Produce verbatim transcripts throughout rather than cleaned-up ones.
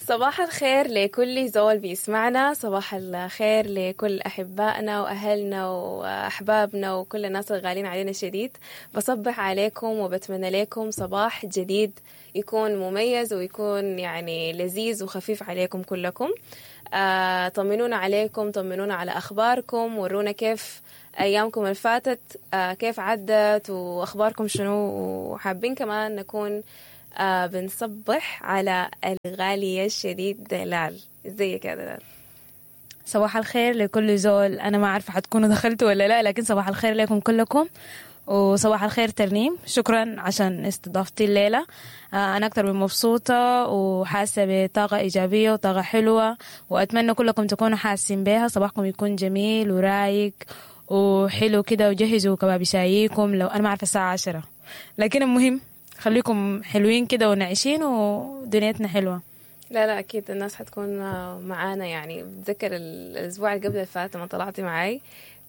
صباح الخير لكل زول بيسمعنا، صباح الخير لكل أحبائنا وأهلنا وأحبابنا وكل الناس الغالين علينا شديد. بصبح عليكم وبتمنى لكم صباح جديد يكون مميز ويكون يعني لذيذ وخفيف عليكم كلكم. آه، طمنونا عليكم، طمنونا على أخباركم، ورونا كيف أيامكم اللي فاتت، آه، كيف عدت وأخباركم شنو. وحابين كمان نكون آه بنصبح على الغالية الشديد دلال. ازيك يا دلال؟ صباح الخير لكل زول. أنا ما عارفة حتكونوا دخلتوا ولا لا، لكن صباح الخير لكم كلكم، وصباح الخير ترنيم. شكرا عشان استضافتي الليلة. آه، أنا أكثر من مبسوطة وحاسة بطاقة إيجابية وطاقة حلوة، وأتمنى كلكم تكونوا حاسين بها. صباحكم يكون جميل ورايق وحلو كده، وجهزوا كباب شايكم. لو أنا ما عارفة الساعة عشرة، لكن المهم خليكم حلوين كده ونعيشين ودنيتنا حلوة. لا لا أكيد الناس حتكون معانا. يعني بتذكر الأسبوع اللي قبل اللي فات لما طلعتي معاي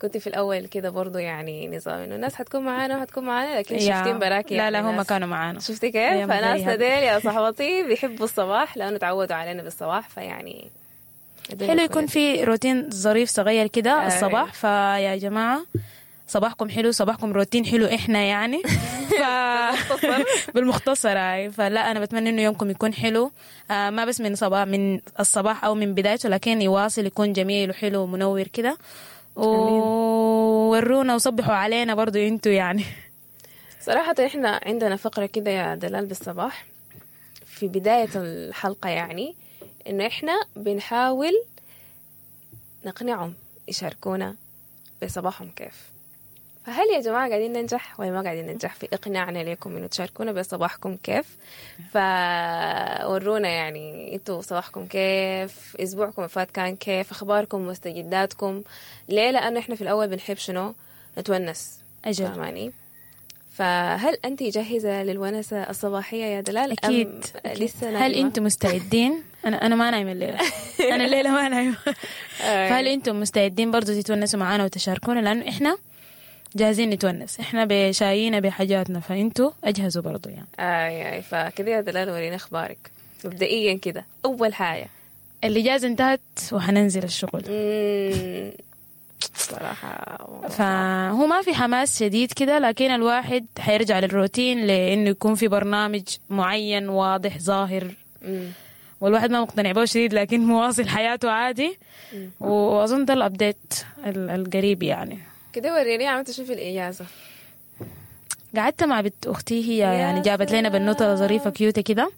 كنت في الأول كده برضو يعني نظام إنه الناس حتكون معانا وحتكون معانا، لكن شفتين براكي. لا لا هم كانوا معانا. شفتي كيف؟ فناس ديل يا صاحبتي بيحبوا الصباح لأنه تعودوا علينا بالصباح، فيعني حلو يكون في روتين ظريف صغير كده الصباح. فيا جماعة صباحكم حلو، صباحكم روتين حلو احنا يعني ف... بالمختصر هاي. فلا انا بتمنى انه يومكم يكون حلو، آه ما بس من صباح من الصباح او من بدايته، لكن يواصل يكون جميل وحلو ومنور كده. وورونا وصبحوا علينا برضو انتو يعني. صراحة احنا عندنا فقرة كده يا دلال بالصباح في بداية الحلقة، يعني انه احنا بنحاول نقنعهم يشاركونا بصباحهم كيف. فهل يا جماعة قاعدين ننجح ولا ما قاعدين ننجح في إقناعنا لكم إنه تشاركونا بصباحكم كيف؟ فورونا يعني إنتوا صباحكم كيف، أسبوعكم فات كان كيف، أخباركم مستجداتكم. ليه؟ لأنه إحنا في الأول بنحب شنو؟ نتونس. أجل. فاهماني؟ فهل أنت جاهزة للونسة الصباحية يا دلال؟ أكيد. أم لسه نايمة؟ هل أنتم مستعدين؟ أنا أنا ما نايمة الليلة. أنا الليلة ما نايمة. فهل أنتم مستعدين برضو تتونسوا معانا وتشاركونا؟ لأنه إحنا جاهزين نتونس، احنا بشايينا بحاجاتنا، فانتوا اجهزوا برضو يعني. اي اي فكده يا دلال ورينا اخبارك مبدئيا كده. اول حاجة الاجازة انتهت وحننزل الشغل. صراحة فهو ما في حماس شديد كده، لكن الواحد حيرجع للروتين لانه يكون في برنامج معين واضح ظاهر. مم. والواحد ما مقتنع به شديد، لكن مواصل حياته عادي. مم. واظن ده ال update القريب يعني. كده وريني عملت شو في الإجازة. قعدت مع بنت أختي، هي يعني جابت لنا بنوتة ظريفة كيوتة كده،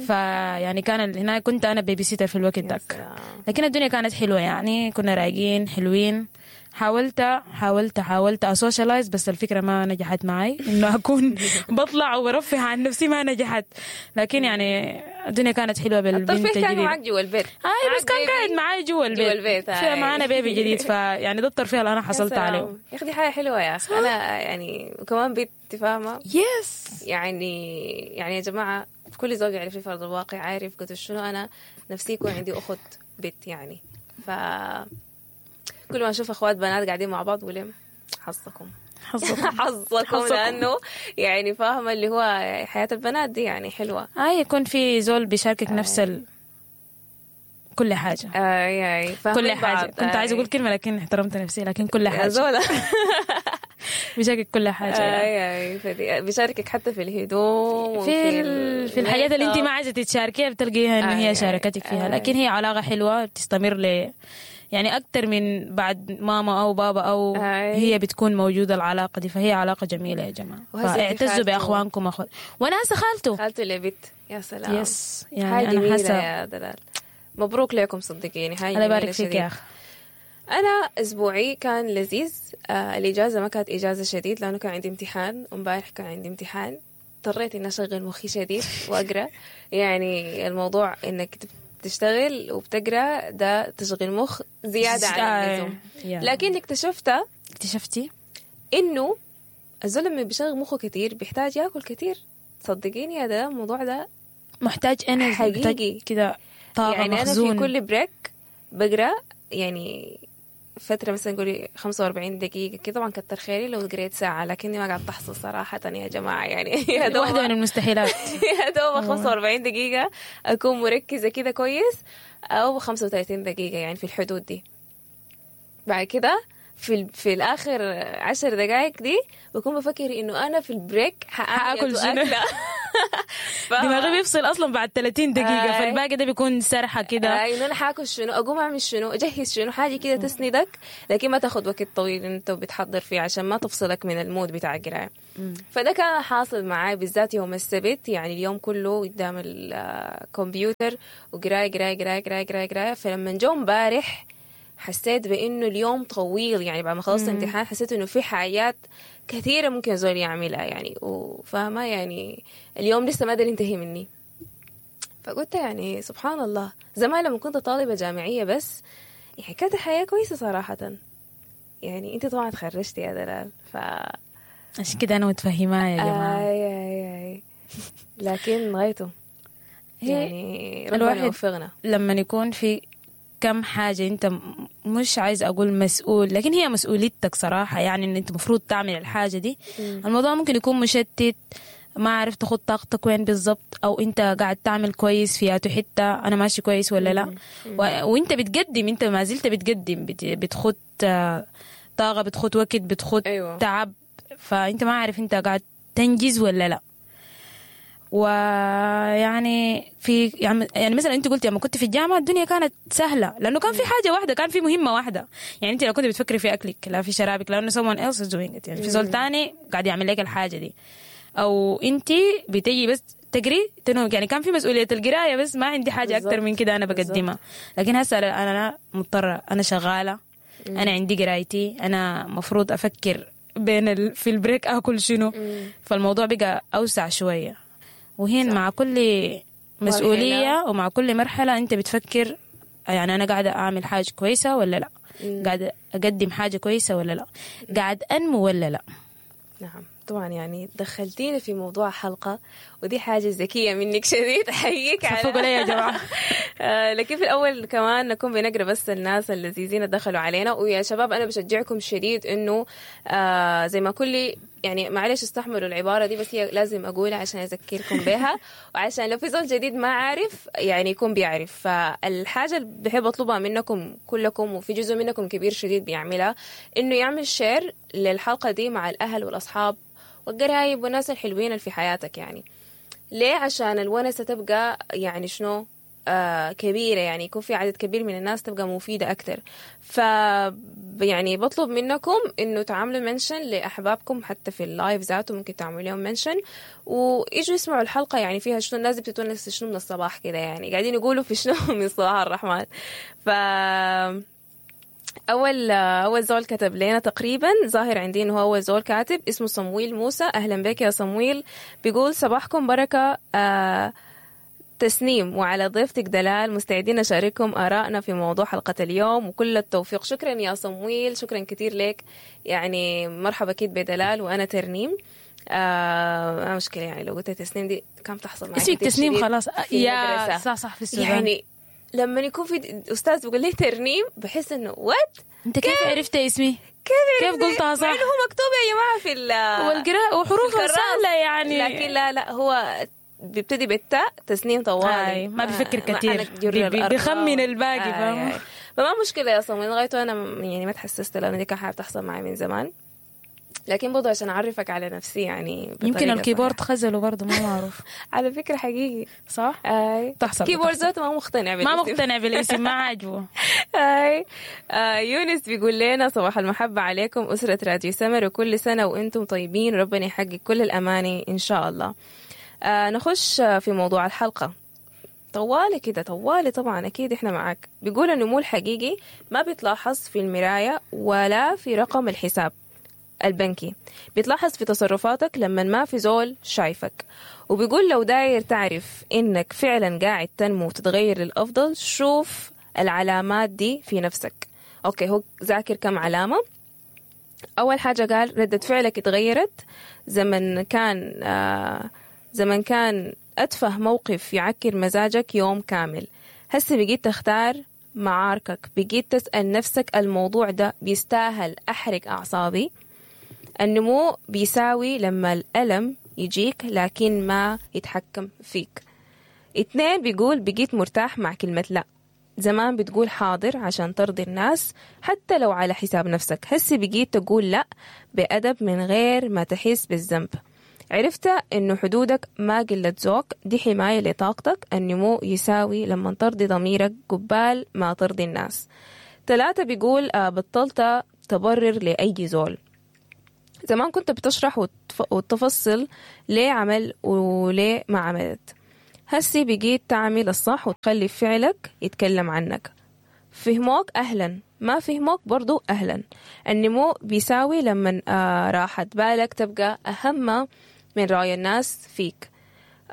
فيعني كان هناك كنت أنا babysitter في الوقت داك، لكن الدنيا كانت حلوة يعني، كنا رايقين حلوين. حاولت حاولت حاولت أ socialize، بس الفكرة ما نجحت معي إنه أكون بطلع وبرفه عن نفسي، ما نجحت. لكن يعني الدنيا كانت حلوة بالبنت الجديد. الترفيه كان معك جوا البيت. هاي بس كان قاعد معي جوا البيت. جوا البيت. في معانا baby جديد، فيعني ده الترفيه اللي أنا حصلت عليه. يا أخي دي حاجة حلوة يا أخي. أنا يعني وكمان بيت فاهمة. yes. يعني يعني يا جماعة كل زوج يعرف في أرض الواقع، عارف قلت شنو أنا نفسي يكون عندي أخت بيت يعني. ف كل ما أشوف أخوات بنات قاعدين مع بعض بقول حظكم حظكم حظكم، لأنه يعني فاهمة اللي هو حياة البنات دي يعني حلوة. آه يكون في زول بيشاركك نفس ال... كل حاجة. آي آي كل حاجة. كنت عايزة أقول كلمة لكن احترمت نفسي، لكن كل حاجة. زولة بيشاركك كل حاجة. آي آي فدي... بيشاركك حتى في الهدوم في ال... في الحاجات اللي أنت ما عايزة تتشاركيها بتلقيها إنه هي شاركتك فيها. لكن هي علاقة حلوة بتستمر ل يعني أكتر من بعد ماما أو بابا أو أي. هي بتكون موجودة العلاقة دي، فهي علاقة جميلة يا جماعة. فاعتزوا بأخوانكم أخوات. وأنا هسه خالته خالته اللي بنت. يا سلام. yes يعني أنا حاسة يا دلال. مبروك لكم صدقيني، هاي الله يبارك فيك يا أخي. أنا أسبوعي كان لذيذ. آه الإجازة ما كانت إجازة شديد لأنه كان عندي امتحان، ومبارح كان عندي امتحان، اضطريت إني أشغل مخي شديد وأقرأ. يعني الموضوع إنك تشتغل وبتقرأ ده تشغيل مخ زيادة عن اللزوم. لكن اكتشفت اكتشفتي إنه الزلمة اللي بيشغل مخه كتير بيحتاج ياكل كتير. صدقيني يا ده الموضوع ده محتاج energy حقيقي كده، طاقة يعني مخزون. أنا في كل break بقرأ يعني فترة مثلا قولي خمسة وأربعين دقيقة كده. طبعا كتر خيري لو قريت ساعة، لكني ما قاعد تحصل صراحة يا جماعة يعني. يا دوب واحدة من المستحيلات. يا دوب خمسة وأربعين دقيقة أكون مركزة كده كويس، أو خمسة وثلاثين دقيقة يعني في الحدود دي. بعد كده في ال... في الآخر عشر دقائق دي بكون بفكر إنه أنا في ال break حأكل شنو. دماغي بيفصل أصلا بعد ثلاثين دقيقة. آي. فالباقي ده بيكون سرحة كده. إنه أنا حاكل شنو، أقوم أعمل شنو، أجهز شنو، حاجة كده تسندك، لكن ما تاخد وقت طويل أنت بتحضر فيه عشان ما تفصلك من ال mood بتاع القراية. فده كان حاصل معاي بالذات يوم السبت، يعني اليوم كله قدام الكمبيوتر وقراية قراية قراية قراية قراية قراية. فلما جو امبارح حسيت بإنه اليوم طويل، يعني بعد ما خلصت الامتحان حسيت إنه في حاجات كثيرة ممكن زول يعملها يعني، وفاهمة يعني اليوم لسه ما قدر ينتهي مني. فقلت يعني سبحان الله، زمان لما كنت طالبة جامعية بس يعني كانت الحياة كويسة صراحة. يعني أنت طبعا تخرجتي يا دلال، ف عشان كده أنا متفهمة يا جماعة. آي آي آي. لكن غايته يعني ربنا يوفقنا. لما يكون في كم حاجة انت مش عايز اقول مسؤول، لكن هي مسؤوليتك صراحة، يعني ان انت مفروض تعمل الحاجة دي. مم. الموضوع ممكن يكون مشتت، ما عارف تاخد طاقتك وين بالضبط، او انت قاعد تعمل كويس في حتة، انا ماشي كويس ولا لا. و... وانت بتقدم، انت ما زلت بتقدم، بت... بتخد طاقة، بتخد وقت، بتخد أيوة. تعب، فانت ما عارف انت قاعد تنجز ولا لا. ويعني في يعني مثلا انت قلت لما كنت في الجامعة الدنيا كانت سهلة، لانه كان في حاجة واحدة، كان في مهمة واحدة. يعني انت لو كنت بتفكري في اكلك لا في شرابك، لانه someone else is doing it، يعني في زول تاني قاعد يعمل لك الحاجة دي، او انت بتيجي بس تقري تنوم. يعني كان في مسؤولية القراية بس، ما عندي حاجة اكتر من كده انا بقدمها. لكن هسه انا مضطرة، انا شغالة، انا عندي قرايتي، انا مفروض افكر بين ال... في ال break اكل شنو. فالموضوع بقى اوسع شوية. وهين مع كل مسؤولية ومع كل مرحلة أنت بتفكر يعني أنا قاعدة أعمل حاجة كويسة ولا لا، قاعدة أقدم حاجة كويسة ولا لا، قاعد أنمو ولا لا. نعم طبعا، يعني دخلتينا في موضوع حلقة، ودي حاجة ذكية منك شديد، أحييك على صفقوا لي يا جماعة. لكن في الأول كمان نكون بنقرأ بس الناس اللذيذين دخلوا علينا. ويا شباب أنا بشجعكم شديد إنه آه زي ما كل يعني معلش استحملوا العبارة دي، بس هي لازم أقولها عشان أذكركم بها، وعشان لو في زول جديد ما عارف يعني يكون بيعرف. فالحاجة اللي بحب أطلبها منكم كلكم، وفي جزء منكم كبير شديد بيعملها، إنه يعمل share للحلقة دي مع الأهل والأصحاب والقرايب والناس الحلوين اللي في حياتك. يعني ليه؟ عشان الونسة تبقى يعني شنو آه كبيرة، يعني يكون في عدد كبير من الناس تبقى مفيدة أكتر. ف يعني بطلب منكم إنه تعملوا mention لأحبابكم، حتى في ال live ذاته ممكن تعملوا لهم mention ويجوا يسمعوا الحلقة. يعني فيها شنو الناس بتتونس شنو من الصباح كده، يعني قاعدين يقولوا في شنو من صباح الرحمن. ف أول أول زول كتب لنا تقريبا، ظاهر عندي إنه هو أول زول كاتب، اسمه صمويل موسى. أهلا بك يا صمويل. بيقول صباحكم بركة آه تسنيم وعلى ضيفتك دلال، مستعدين نشارككم آرائنا في موضوع حلقة اليوم وكل التوفيق. شكرا يا صمويل، شكرا كثير لك. يعني مرحبا أكيد بدلال وأنا ترنيم. آه مشكلة يعني لو قلت تسنيم دي كم تحصل معي اسمك تسنيم خلاص يا صح صح في السودان. يعني لما يكون في أستاذ بيقول لي ترنيم بحس إنه what، أنت كيف عرفت اسمي؟ كيف كيف قلتها صح؟ مع إنه هو مكتوب يا جماعة في ال والقراءة وحروفها سهلة يعني، لكن لا لا هو بيبتدي بالتاء تسنيم طوالي، ما بيفكر كثير، بيخمن الباقي. فاهم؟ فما مشكلة يا صمويل، لغايته أنا يعني ما تحسست لأنه دي كان حاجة بتحصل معي من زمان، لكن برضه عشان أعرفك على نفسي يعني. يمكن ال keyboard خزله برضه ما معروف. على فكرة حقيقي صح؟ أي تحصل. keyboard ذاته ما مقتنع بالاسم، ما مقتنع بالاسم، ما عاجبه. أي آه يونس بيقول لنا صباح المحبة عليكم أسرة راديو سمر، وكل سنة وأنتم طيبين، وربنا يحقق كل الأماني إن شاء الله. آه نخش في موضوع الحلقة طوالي كده طوالي طبعا أكيد إحنا معاك. بيقول النمو الحقيقي ما بيتلاحظ في المراية ولا في رقم الحساب البنكي، بيتلاحظ في تصرفاتك لما ما في زول شايفك. وبيقول لو داير تعرف إنك فعلا قاعد تنمو وتتغير للأفضل، شوف العلامات دي في نفسك. okay، هو ذاكر كم علامة. أول حاجة قال ردة فعلك اتغيرت، زمن كان آه زمن كان أتفه موقف يعكر مزاجك يوم كامل، هسه بقيت تختار معاركك، بقيت تسأل نفسك الموضوع ده بيستاهل أحرق أعصابي؟ النمو بيساوي لما الألم يجيك لكن ما يتحكم فيك. اتنين بيقول بقيت مرتاح مع كلمة لا. زمان بتقول حاضر عشان ترضي الناس حتى لو على حساب نفسك، هسي بقيت تقول لا بأدب من غير ما تحس بالذنب. عرفت انه حدودك ما قلة ذوق، دي حماية لطاقتك. النمو يساوي لما ترضي ضميرك قبال ما ترضي الناس. ثلاثة بيقول آه، بطلت تبرر لأي زول. زمان كنت بتشرح وتف- وتفصل ليه عمل وليه ما عملت، هسي بقيت تعمل الصح وتخلي فعلك يتكلم عنك. فهموك أهلا، ما فهموك برضو أهلا. النمو بيساوي لما آه، راحة بالك تبقى أهم من رأي الناس فيك.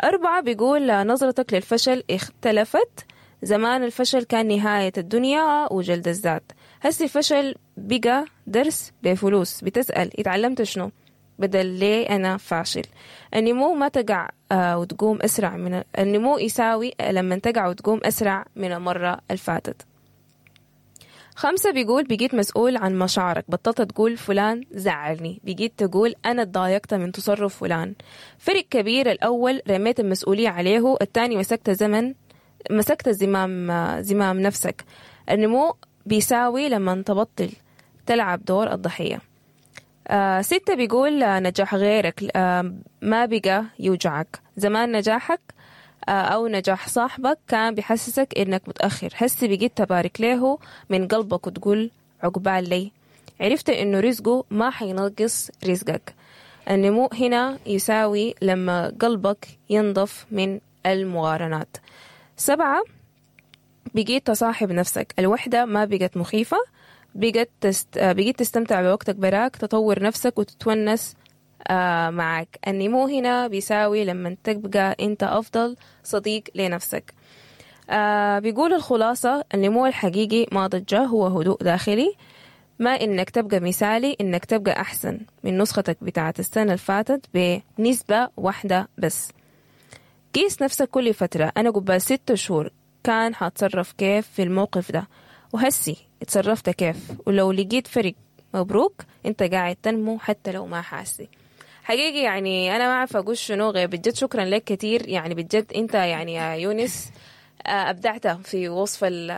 أربعة بيقول آه، نظرتك للفشل اختلفت. زمان الفشل كان نهاية الدنيا وجلد الذات، هسي الفشل بقى درس بفلوس، بتسأل اتعلمت شنو بدل ليه أنا فاشل. النمو ما تقع آه، وتقوم أسرع من النمو يساوي لما تقع وتقوم أسرع من المرة الفاتت. خمسة بيقول بقيت مسؤول عن مشاعرك، بطلت تقول فلان زعلني، بقيت تقول أنا اتضايقت من تصرف فلان. فرق كبير، الأول رميت المسؤولية عليه، الثاني مسكت زمن مسكت زمام زمام نفسك. النمو بيساوي لما تبطل تلعب دور الضحية. آه ستة بيقول آه، نجاح غيرك آه ما بقى يوجعك. زمان نجاحك آه أو نجاح صاحبك كان بيحسسك إنك متأخر، هسي بقيت تبارك له من قلبك وتقول عقبال لي. عرفت إنه رزقه ما حينقص رزقك. النمو هنا يساوي لما قلبك ينضف من المقارنات. سبعة بقيت تصاحب نفسك، الوحدة ما بقت مخيفة، بقت تست... آه، بقيت تستمتع بوقتك براك، تطور نفسك وتتونس آه، معك. النمو هنا بيساوي لما تبقى انت أفضل صديق لنفسك. آه، بيقول الخلاصة، النمو الحقيقي ما ضجة، هو هدوء داخلي. ما إنك تبقى مثالي، إنك تبقى أحسن من نسختك بتاعت السنة اللي فاتت بنسبة واحدة بس. قيس نفسك كل فترة، أنا قبل ست شهور كان حتصرف كيف في الموقف ده، وهسي اتصرفت كيف، ولو لقيت فرق مبروك، انت قاعد تنمو حتى لو ما حاسي. حقيقي يعني أنا ما عارفة أقول شنو غير بجد شكرا لك كتير، يعني بجد أنت يعني يا يونس آه، أبدعت في وصف ال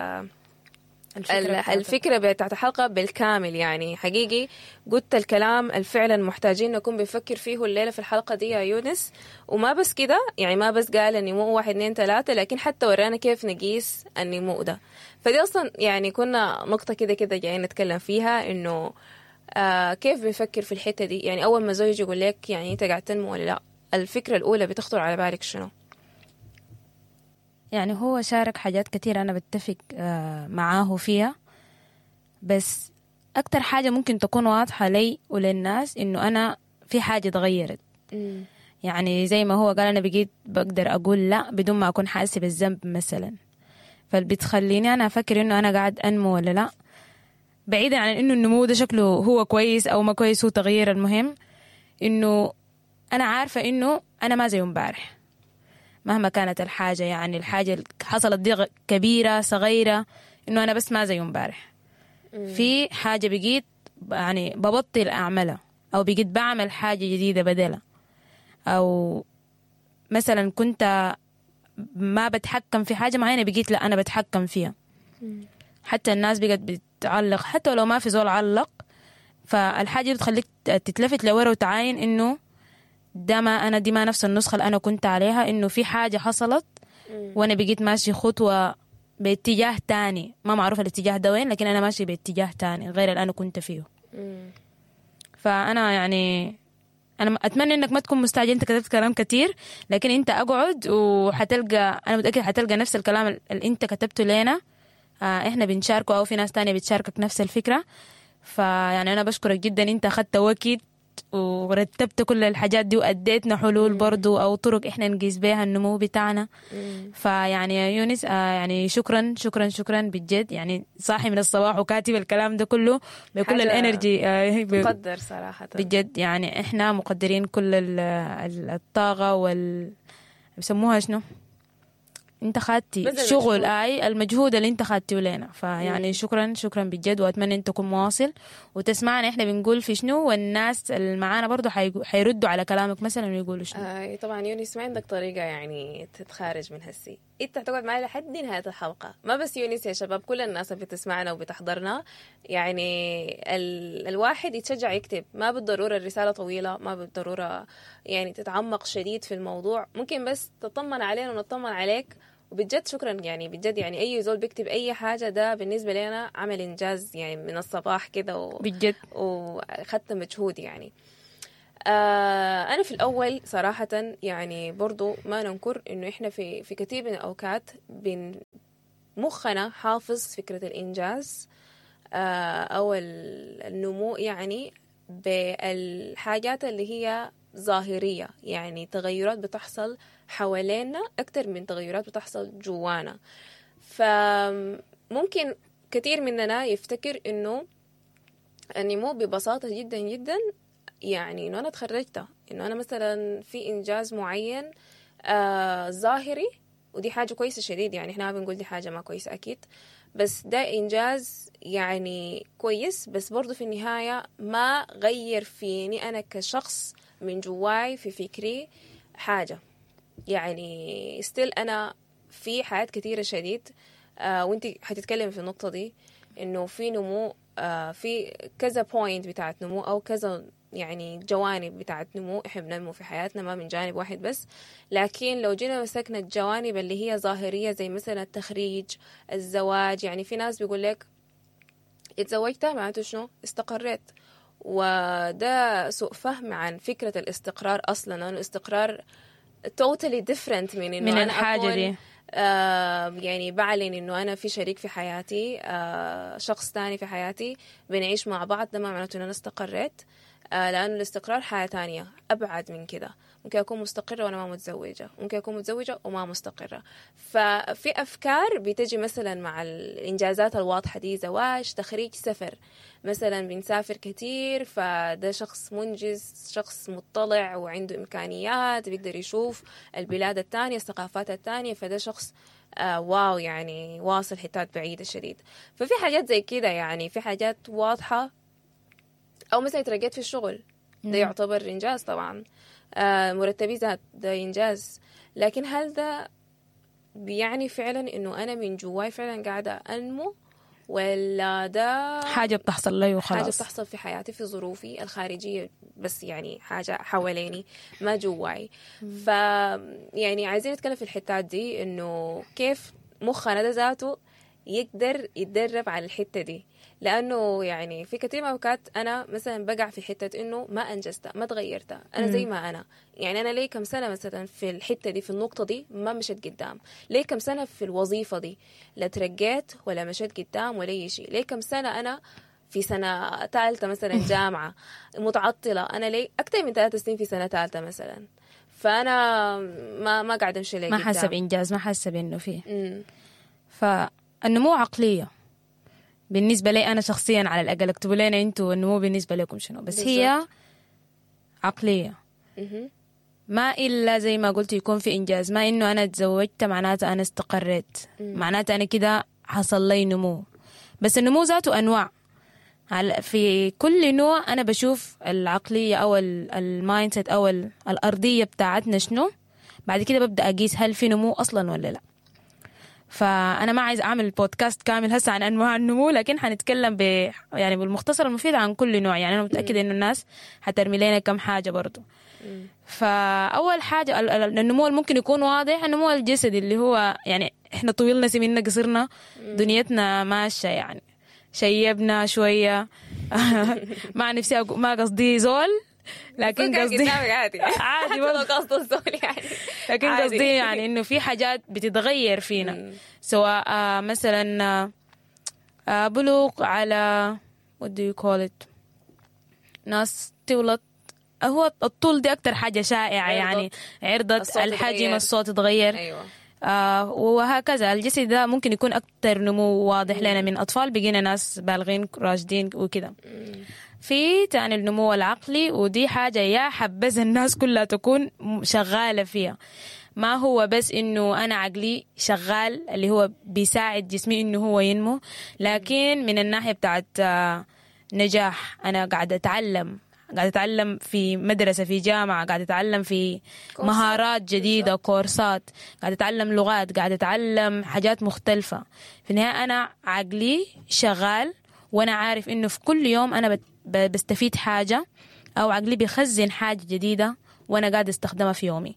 الفكرة ال- بتاعتك. الفكرة بتاعت الحلقة بالكامل. يعني حقيقي قلت الكلام اللي فعلا محتاجين نكون بنفكر فيه الليلة في الحلقة دي يا يونس. وما بس كده، يعني ما بس قال النمو واحد اتنين تلاتة، لكن حتى ورانا كيف نقيس النمو ده. فدي أصلا يعني كنا نقطة كده كده جايين نتكلم فيها، إنه آه كيف بنفكر في الحتة دي. يعني أول ما زوجي يقول لك يعني أنت قاعد تنمو ولا لا، الفكرة الأولى بتخطر على بالك شنو؟ يعني هو شارك حاجات كتير أنا بتفق آه، معاه فيها، بس أكتر حاجة ممكن تكون واضحة لي وللناس إنه أنا في حاجة اتغيرت. يعني زي ما هو قال أنا بقيت بقدر أقول لا بدون ما أكون حاسة بالذنب مثلا، فبتخليني أنا أفكر إنه أنا قاعد أنمو ولا لا، بعيدا عن إنه النمو ده شكله هو كويس أو ما كويس، هو تغيير. المهم إنه أنا عارفة إنه أنا ما زي امبارح مهما كانت الحاجة، يعني الحاجة اللي حصلت دي غ- كبيرة صغيرة، إنه أنا بس ما زي امبارح. في حاجة بقيت يعني ببطل أعملها، أو بقيت بعمل حاجة جديدة بدلها، أو مثلا كنت ما بتحكم في حاجة معينة بقيت لا أنا بتحكم فيها. حتى الناس بقت بتعلق، حتى لو ما في زول علق، فالحاجة دي بتخليك تتلفت لورا وتعاين إنه ده ما أنا، دي ما نفس النسخة اللي أنا كنت عليها، إنه في حاجة حصلت وأنا بقيت ماشي خطوة باتجاه تاني، ما معروف الاتجاه ده وين، لكن أنا ماشي باتجاه تاني غير اللي أنا كنت فيه. فأنا يعني أنا أتمنى إنك ما تكون مستعجل، أنت كتبت كلام كتير، لكن أنت أقعد وحتلقى، أنا متأكدة حتلقى نفس الكلام اللي أنت كتبته لنا، آه، إحنا بنشاركه أو في ناس تانية بتشاركك نفس الفكرة. فيعني أنا بشكرك جدا، أنت أخدت وقت ورتبت كل الحاجات دي وأديتنا حلول برضو أو طرق إحنا نقيس بيها النمو بتاعنا. فيعني يا يونس آه يعني شكرا شكرا شكرا بجد، يعني صاحي من الصباح وكاتب الكلام ده كله بكل حاجة ال energy آه ب- تقدر صراحة بجد، يعني إحنا مقدرين كل ال- ال- الطاقة وال بيسموها شنو انت خدتي بذل شغل مجهود. اي المجهود اللي انت خدتيه لنا. فيعني شكرا شكرا بجد، واتمنى انت تكون مواصل وتسمعنا احنا بنقول في شنو، والناس اللي معانا برضو حيقو- حيردوا على كلامك مثلا ويقولوا شنو. آه طبعا يونس ما عندك طريقة يعني تتخارج من هسي، انت حتقعد معي لحد نهاية الحلقة. ما بس يونس يا شباب، كل الناس اللي بتسمعنا وبتحضرنا، يعني ال... الواحد يتشجع يكتب، ما بالضرورة الرسالة طويلة، ما بالضرورة يعني تتعمق شديد في الموضوع، ممكن بس تطمن علينا ونطمن عليك. وبجد شكرا يعني بجد، يعني اي زول بيكتب اي حاجة ده بالنسبة لنا عمل انجاز يعني من الصباح كده و... بجد واخدت مجهود يعني. آه أنا في الأول صراحة يعني برضو ما ننكر إنه إحنا في في كثير من الأوقات بن مخنا حافظ فكرة الإنجاز آه أو ال- النمو يعني بالحاجات اللي هي ظاهرية، يعني تغيرات بتحصل حوالينا أكتر من تغيرات بتحصل جوانا. فممكن كثير مننا يفتكر إنه النمو ببساطة جدا جدا يعني إنه أنا تخرجت، إنه أنا مثلا في إنجاز معين آه ظاهري، ودي حاجة كويسة شديد، يعني إحنا ما بنقول دي حاجة ما كويسة أكيد، بس ده إنجاز يعني كويس، بس برضو في النهاية ما غير فيني أنا كشخص من جواي في فكري حاجة. يعني still أنا في حاجات كثيرة شديد آه وانت حتتكلم في النقطة دي، إنه في نمو آه في كذا point بتاعت نمو أو كذا يعني جوانب بتاعت نمو إحنا بننمو في حياتنا، ما من جانب واحد بس. لكن لو جينا مسكنا الجوانب اللي هي ظاهرية زي مثلا التخريج، الزواج، يعني في ناس بيقول لك اتزوجت معناته شنو؟ استقريت. وده سوء فهم عن فكرة الاستقرار أصلا، لأنه الاستقرار totally different من إنه من أنا الحاجة أكون دي. آه يعني بعلن إنه أنا في شريك في حياتي، آه شخص تاني في حياتي، بنعيش مع بعض، ده ما معناته إن أنا استقريت، آه لأنه الاستقرار حياة تانية أبعد من كده. ممكن أكون مستقرة وأنا ما متزوجة، ممكن أكون متزوجة وما مستقرة. ففي أفكار بتجي مثلا مع الإنجازات الواضحة دي، زواج، تخريج، سفر مثلا، بنسافر كتير، فده شخص منجز، شخص مطلع وعنده إمكانيات، بيقدر يشوف البلاد التانية، الثقافات التانية، فده شخص آه واو يعني واصل حتات بعيدة شديد. ففي حاجات زي كده، يعني في حاجات واضحة. أو مثلا ترقيت في الشغل، ده يعتبر إنجاز طبعا، آه مرتبي زاد، ده إنجاز. لكن هل ده بيعني فعلا إنه أنا من جواي فعلا قاعدة أنمو، ولا ده حاجة بتحصل لي وخلاص، حاجة بتحصل في حياتي في ظروفي الخارجية بس، يعني حاجة حواليني ما جواي. ف يعني عايزين نتكلم في الحتات دي، إنه كيف مخنا ده ذاته يقدر يتدرب على الحتة دي، لأنه يعني في كثير من الأوقات أنا مثلا بقع في حتة إنه ما أنجزت، ما تغيرت، أنا زي ما أنا، يعني أنا ليه كم سنة مثلا في الحتة دي، في النقطة دي ما مشيت قدام، ليه كم سنة في الوظيفة دي لا ترقيت ولا مشيت قدام ولا أي شيء، ليه كم سنة أنا في سنة ثالثة مثلا جامعة متعطلة، أنا ليه أكثر من ثلاث سنين في سنة ثالثة مثلا، فأنا ما ما قاعدة أمشي ليه ما قدام، حاسة بإنجاز، ما حاسة بإنه فيه. فالنمو عقلية بالنسبة لي أنا شخصيا، على الأقل اكتبوا لنا أنتوا النمو بالنسبة لكم شنو، بس بالزبط. هي عقلية مه. ما إلا زي ما قلت يكون في إنجاز، ما إنه أنا تزوجت معناته أنا استقريت، معناته أنا كده حصل لي نمو. بس النمو ذاته أنواع، في كل نوع أنا بشوف العقلية أو ال mindset أو الأرضية بتاعتنا شنو، بعد كده ببدأ أقيس هل في نمو أصلا ولا لا. فأنا ما عايز أعمل بودكاست كامل هسه عن أنواع النمو، لكن حنتكلم ب يعني بالمختصر المفيد عن كل نوع. يعني أنا متأكدة إنه الناس حترمي لنا كم حاجة برضو. فأول حاجة النمو ممكن يكون واضح، النمو الجسدي اللي هو يعني إحنا طويلنا سمينا قصرنا دنيتنا ماشية، يعني شيبنا شوية مع نفسي أقو... ما قصدي زول، لكن قصدي عادي عادي برضه قصد الزول يعني، لكن قصدي يعني إنه في حاجات بتتغير فينا، سواء مثلا بلوغ على what do you call it، ناس تولد، هو الطول دي أكتر حاجة شائعة يعني، عرضت الحجم، الصوت تغير، أيوة. آه وهكذا. الجسد ده ممكن يكون أكتر نمو واضح لنا من أطفال بقينا ناس بالغين راشدين وكده. في تاني النمو العقلي، ودي حاجة يا حبذا الناس كلها تكون شغالة فيها. ما هو بس إنه أنا عقلي شغال اللي هو بيساعد جسمي إنه هو ينمو، لكن من الناحية بتاعت آه، نجاح، أنا قاعدة أتعلم، قاعدة أتعلم في مدرسة، في جامعة، قاعدة أتعلم في كورسات. مهارات جديدة، بالظبط. كورسات، قاعدة أتعلم لغات، قاعدة أتعلم حاجات مختلفة. في النهاية أنا عقلي شغال، وأنا عارف إنه في كل يوم أنا بت- ب- بستفيد حاجة، أو عقلي بيخزن حاجة جديدة وأنا قاعدة أستخدمها في يومي.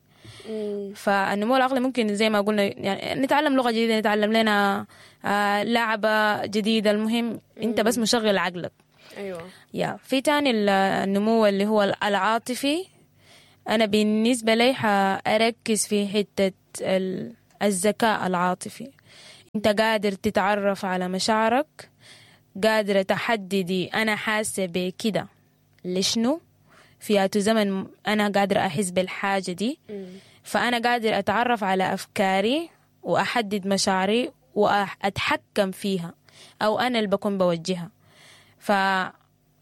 مم. فالنمو العقلي ممكن زي ما قلنا يعني نتعلم لغة جديدة، نتعلم لنا آه، لعبة جديدة، المهم أنت بس مشغل عقلك. ايوه. يا في تاني ال- النمو اللي هو العاطفي، أنا بالنسبة لي حأركز في حتة ال- الذكاء العاطفي. أنت قادر تتعرف على مشاعرك، قادرة تحددي أنا حاسة بكده لشنو، في أي زمن أنا قادرة أحس بالحاجة دي. مم. فأنا قادر أتعرف على أفكاري وأحدد مشاعري وأتحكم فيها، أو أنا اللي بكون بوجهها. ف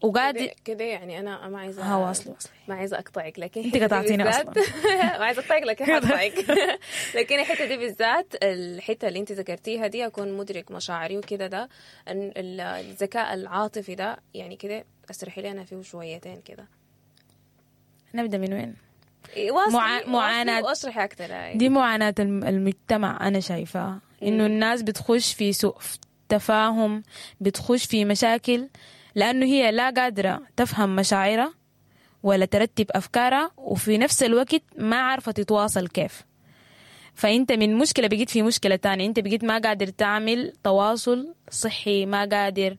وقادر كده كده يعني انا ما عايزه ها واصلي واصلي ما عايزه اقطعك، لكن انت الحتة دي قطعتيني بالذات اصلا. ما عايزه اقطعك لكن حقطعك. لكن الحتة دي بالذات، الحتة اللي انت ذكرتيها دي، اكون مدرك مشاعري وكده، ده ال- ال- الذكاء العاطفي ده يعني كده اشرحي لي انا فيه شويتين كده. نبدأ من وين؟ إيه، واصلي مع... واصلي معاناة واشرحي اكثر. هاي. دي معاناة الم- المجتمع أنا شايفاها، إنه الناس بتخش في سوء تفاهم، بتخش في مشاكل، لأنه هي لا قادرة تفهم مشاعرها ولا ترتب أفكارها، وفي نفس الوقت ما عارفة تتواصل كيف. فأنت من مشكلة بقيت في مشكلة تانية، أنت بقيت ما قادر تعمل تواصل صحي، ما قادر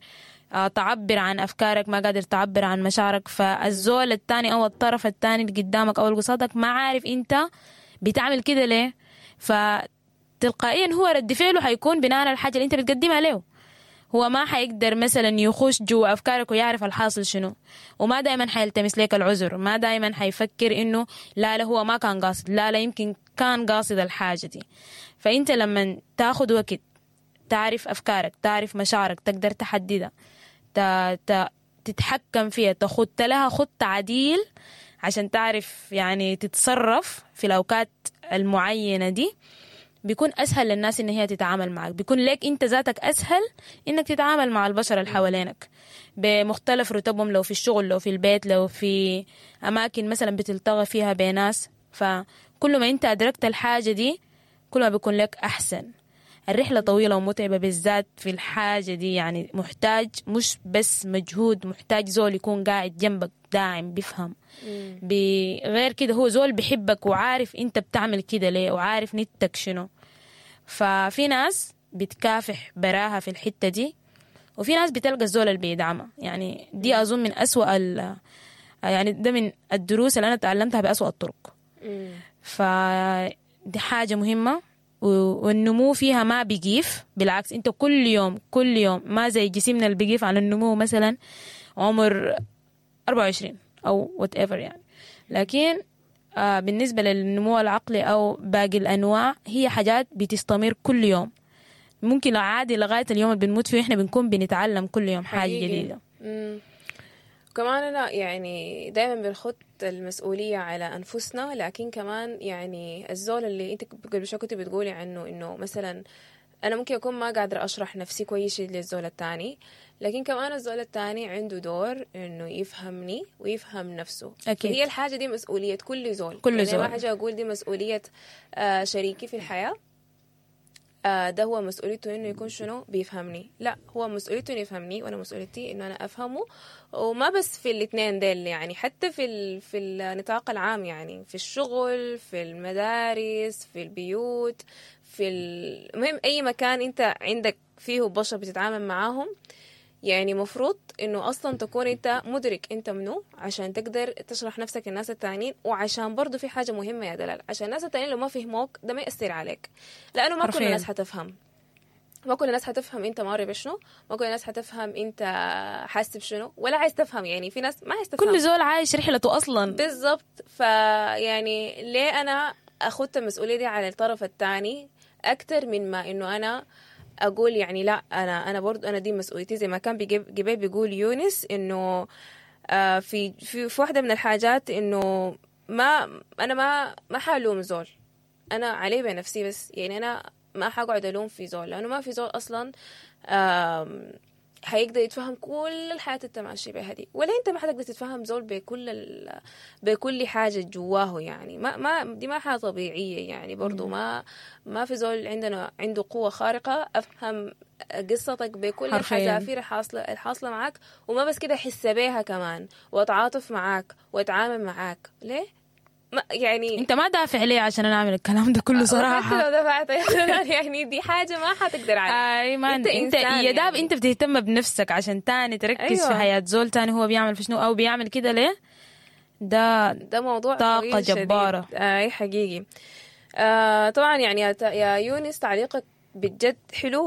آه، تعبر عن أفكارك، ما قادر تعبر عن مشاعرك. فالزول التاني أو الطرف التاني اللي قدامك أو اللي قصادك ما عارف أنت بتعمل كده ليه، فتلقائيا هو رد فعله حيكون بناء على الحاجة اللي أنت بتقدمها له. هو ما حيقدر مثلا يخش جوا أفكارك ويعرف الحاصل شنو، وما دايما حيلتمس لك العذر، ما دايما حيفكر إنه لا لا هو ما كان قاصد، لا لا يمكن كان قاصد الحاجة دي. فأنت لما تاخد وقت تعرف أفكارك، تعرف مشاعرك، تقدر تحددها، ت... ت... تتحكم فيها، تخط لها خط عديل عشان تعرف يعني تتصرف في الأوقات المعينة دي، بيكون أسهل للناس إن هي تتعامل معك، بيكون لك أنت ذاتك أسهل إنك تتعامل مع البشر اللي حوالينك بمختلف رتبهم، لو في الشغل، لو في البيت، لو في أماكن مثلا بتلتقى فيها بناس. فكل ما أنت أدركت الحاجة دي كل ما بيكون لك أحسن. الرحلة طويلة ومتعبة بالذات في الحاجة دي، يعني محتاج مش بس مجهود، محتاج زول يكون قاعد جنبك داعم بيفهم، بغير كده هو زول بيحبك وعارف انت بتعمل كده ليه وعارف نيتك شنو. ففي ناس بتكافح براها في الحتة دي، وفي ناس بتلقى الزول اللي بيدعمها. يعني دي أظن من أسوأ ال يعني ده من الدروس اللي أنا تعلمتها بأسوأ الطرق. مم. فدي حاجة مهمة، و- والنمو فيها ما بيقيف، بالعكس انت كل يوم كل يوم، ما زي جسمنا اللي بيقيف على النمو مثلا عمر أربعة وعشرين أو whatever يعني. لكن آه بالنسبة للنمو العقلي أو باقي الأنواع هي حاجات بتستمر كل يوم، ممكن عادي لغاية اليوم اللي بنموت فيه احنا بنكون بنتعلم كل يوم حاجة حقيقي. جديدة. مم. كمان أنا يعني دايما بنخط المسؤولية على أنفسنا، لكن كمان يعني الزول اللي أنت قبل شوي كنت بتقولي عنه إنه مثلا أنا ممكن أكون ما قادرة أشرح نفسي كويس للزول التاني، لكن كمان الزول التاني عنده دور إنه يفهمني ويفهم نفسه. أكيد. هي الحاجة دي مسؤولية كل زول. كل يعني زول. ما حاجة أقول دي مسؤولية آه، شريكي في الحياة، آه، ده هو مسؤوليته انه يكون شنو بيفهمني، لا هو مسؤوليته انه يفهمني وانا مسؤوليتي انه انا افهمه. وما بس في الاثنين ديل يعني، حتى في ال... في النطاق العام، يعني في الشغل، في المدارس، في البيوت، في ال- المهم اي مكان انت عندك فيه بشر بتتعامل معاهم، يعني مفروض انه اصلا تكون انت مدرك انت منو عشان تقدر تشرح نفسك للناس التانيين. وعشان برضو في حاجة مهمة يا دلال، عشان الناس التانيين لو ما فهموك ده ما يأثر عليك، لانه ما كل حرفياً. الناس حتفهم، ما كل الناس حتفهم انت ماري بشنو، ما كل الناس حتفهم انت حاسس بشنو ولا عايز تفهم. يعني في ناس ما عايز تفهم، كل زول عايش رحلته أصلا. بالضبط. فيعني ليه انا اخدت المسؤولية دي على الطرف الثاني اكثر من ما انه انا اقول يعني لا انا انا برضو انا دي مسؤوليتي. زي ما كان بيجيب جبال بيقول يونس انه آه في في في واحدة من الحاجات انه ما انا ما ما حالوم زول، انا علي بنفسي بس، يعني انا ما حقعد الوم في زول، لانه ما في زول اصلا آم، حيقدر يتفهم كل الحياة اللي انت ماشي بها دي، ولا انت ما حتقدر تتفهم زول بكل ال... بكل حاجة جواه. يعني ما ما دي ما حاجة طبيعية، يعني برضو ما ما في زول عندنا عنده قوة خارقة افهم قصتك بكل حرفياً. الحذافير الحاصلة الحاصلة معاك، وما بس كده احس بيها كمان واتعاطف معاك واتعامل معاك. ليه؟ ما يعني انت ما دافع ليه عشان انا اعمل الكلام ده كله حتى صراحة. لو دفعت يعني دي حاجة ما حتقدر عليها. اي ما انت انت, انت إنسان يا داب يعني. انت بتهتم بنفسك عشان تاني تركز أيوة. في حياة زول تاني هو بيعمل في شنو او بيعمل كده ليه. ده ده موضوع طاقة طويل شديد. جبارة. اي حقيقي. آه طبعا يعني يا, يا يونس تعليقك بجد حلو.